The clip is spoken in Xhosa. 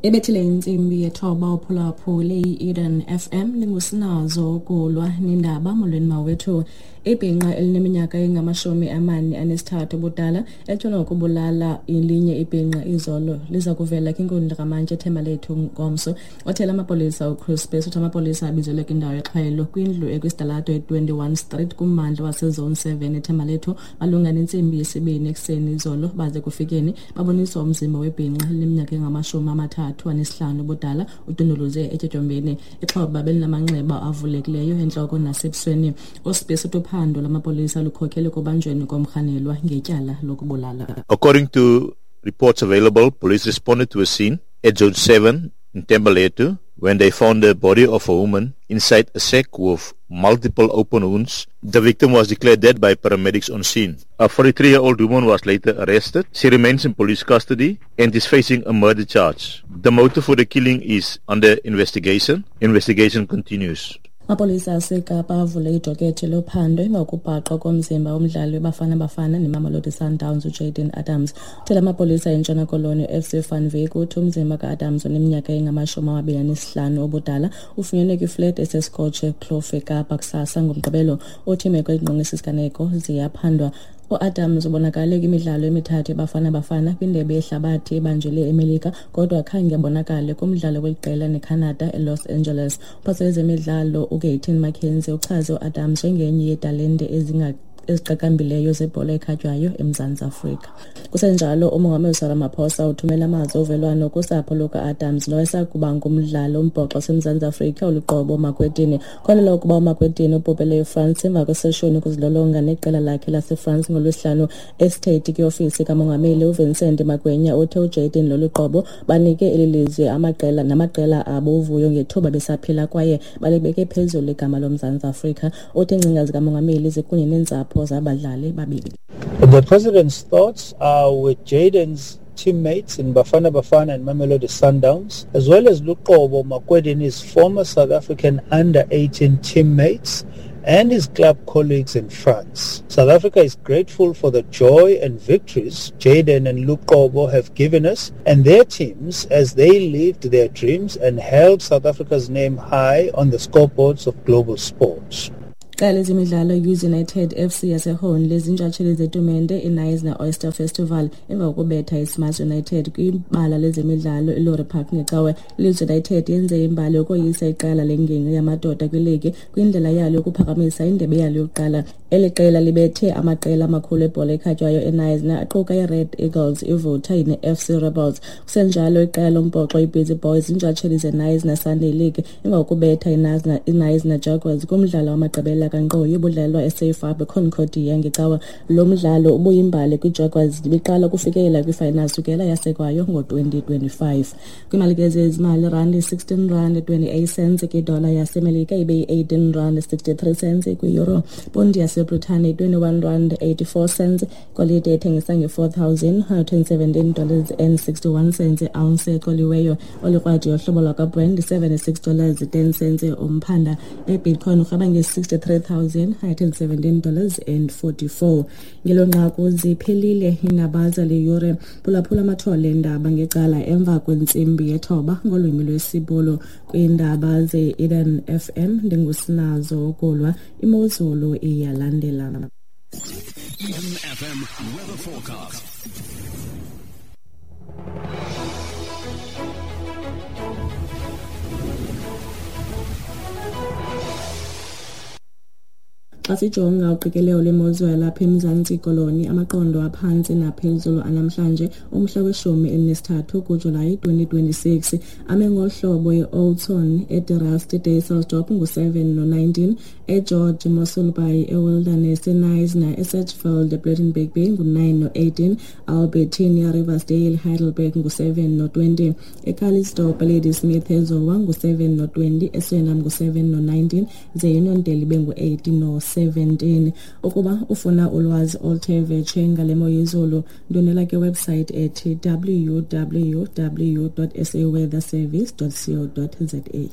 Ebethile intsimbi yethoba uphulaphule i-Eden FM ndingusinazo ukulwa nindaba. Molweni mawethu. Ibhinqa elineminyaka engama-43 ubudala etyholwa ngokubulala elinye ibhinqa izolo liza kuvela kwinkundla kamantyi eThembalethu ngomso. Othela amapolisa uChris Bess uthi amapolisa abizelwe kwindawo yexhwayelo kwindlu ekwisitalato i-21 Street kummandla waseZone 7 eThembalethu malunga nentsimbi yesibini ekuseni izolo. Baze kufikeni baboniswa umzimba webhinqa elineminyaka engama-35 ubudala udunduluze etyotyombeni. Ixhoba belinamanxeba avulekileyo entloko nasebusweni. USibisi uthi uphando lwamapolisa lukhokele ekubanjweni komrhanelwa ngetyala lokubulala. According to reports available, police responded to a scene at Zone 7 in Thembalethu when they found the body of a woman inside a sack with multiple open wounds. The victim was declared dead by paramedics on scene. A 43-year-old woman was later arrested. She remains in police custody and is facing a murder charge. The motive for the killing is under investigation. Investigation continues. Amapolisa aseKapa avule idokethe lophando emva kokubhaqwa komzimba womdlali weBafana Bafana neMamelodi Sundowns uJayden Adams. Uthela amapolisa eNtshona Koloni u-FC van Wyk uthi umzimba ka-Adams oneminyaka engama-25 ubudala ufunyenwe kwiflet eseScotch Kloof eKapa kusasa ngoMgqibelo. Uthi imeko engqongisa isiganeko ziyaphandwa. U-Adams ubonakale kwimidlalo emithathu yeBafana Bafana kwindebe yehlabathi ebanjelwe eMelika, kodwa khange abonakale kumdlalo weliqela neCanada eLos Angeles. Umphathiswa wezemidlalo uGayton McKenzie uchaze u-Adams njengenye yeetalente eziqaqambileyo zebhola ekhatywayo eMzantsi Afrika. Kusenjalo, uMongameli Cyril Ramaphosa uthumela amazwi ovelwano kusapho luka-Adams nowayesakuba ngumdlali wombhoxo waseMzantsi Afrika uLuqobo Makwetini. Kholelwa ukuba uMakwetini ubhubhele eFrance emva kweseshoni yokuzilolonga neqela lakhe laseFrance ngoLwesihlanu. Estate kwiofisi kaMongameli uVincent Magwenya uthe uJayden noLuqobo banike eli lizwe amaqela namaqela abo uvuyo ngethuba besaphila kwaye balibeke phezulu igama loMzantsi Afrika. Uthi iingcinga zikaMongameli zikunye neentsapho zabadlali babili. The president's thoughts are with Jayden's teammates in Bafana Bafana and Mamelodi Sundowns, as well as Luqobo Makwedini's former South African under-18 teammates and his club colleagues in France. South Africa is grateful for the joy and victories Jayden and Luqobo have given us and their teams as they lived their dreams and held South Africa's name high on the scoreboards of global sports. Iqela lezemidlalo iUs United FC yaseHorn lezintshatsheli zetumente iKnysna Oyster Festival emva kokubetha iSmash United kwibala lezemidlalo iLory Park ngeCawe. ILeeds United yenze imbali yokoyisa iqela lengingqi yamadoda kwiligi kwindlela yalo yokuphakamisa indebe yalo yokuqala. Eli qela libethe amaqela amakhulu ebhola ekhatywayo eKnysna aquka iRed Eagles, iVutha ne-FC Rebels. Kusenjalo, iqela lombhoxo iBusy Boys ziintshatsheli zeKnysna Sunday League emva kokubetha iKnysna Jaguars kumdlalo wamagqibela kankqoyi obudlalwa eSafe Harbor eConcordia ngeCawa. Lo mdlalo ubuyimbali kwiJaguars ibiqala ukufikelela kwifinal sukela yasekwayo ngo-2025. Kwiimali ke zezimali, randi 16 rand 28 cents kwidola yaseMelika, ibe yi-18 rand 63 cents kwi-euro. Ponti yaseBritane 21 rand 84 cents. Golide ethengisa nge-$4,117 dollars and 61 cents iounce ecoliweyo. Olikrwadi yohlobo lwakwaBrent 76 dollars 10 cents umphanda. Ebitcoin urhweba nge-$63,117 dollars and 44. Ngelo nqaku ziphelile iindaba zale yure. Phulaphula amathole eendaba ngecala emva kwentsimbi yethoba ngolwimi lwesiBhulu. Kwiindaba ze-Eden FM ndingusinazo ukulwa. Imozulu iyalandela. Eden FM weather forecast. Xa sijonga uqikelelo lwemozulu yalapha eMzantsi Koloni, amaqondo aphantsi naphezulu anamhlanje umhla we-13 kuJulayi 2026 ame ngohlobo: e-Oudtshoorn, eDe Dysselsdorp ngu-7 no-19, eGeorge, Mossel Bay, eWilderness, eKnysna, eSedgefield, ePlettenberg Bay ngu-9 no-18, Albertinia, Riversdale, Heidelberg ngu-7 no-20, eCalitzdorp, Ladysmith, eZowa ngu-7 no-20, eSwellnum ngu-7 no-19, ze iUniondale ibe ngu-8 no-17. Ukuba ufuna ulwazi oluthe vetshe ngale mo yezulu, ndwendwela kwiwebsite ethi www.saweatherservice.co.za.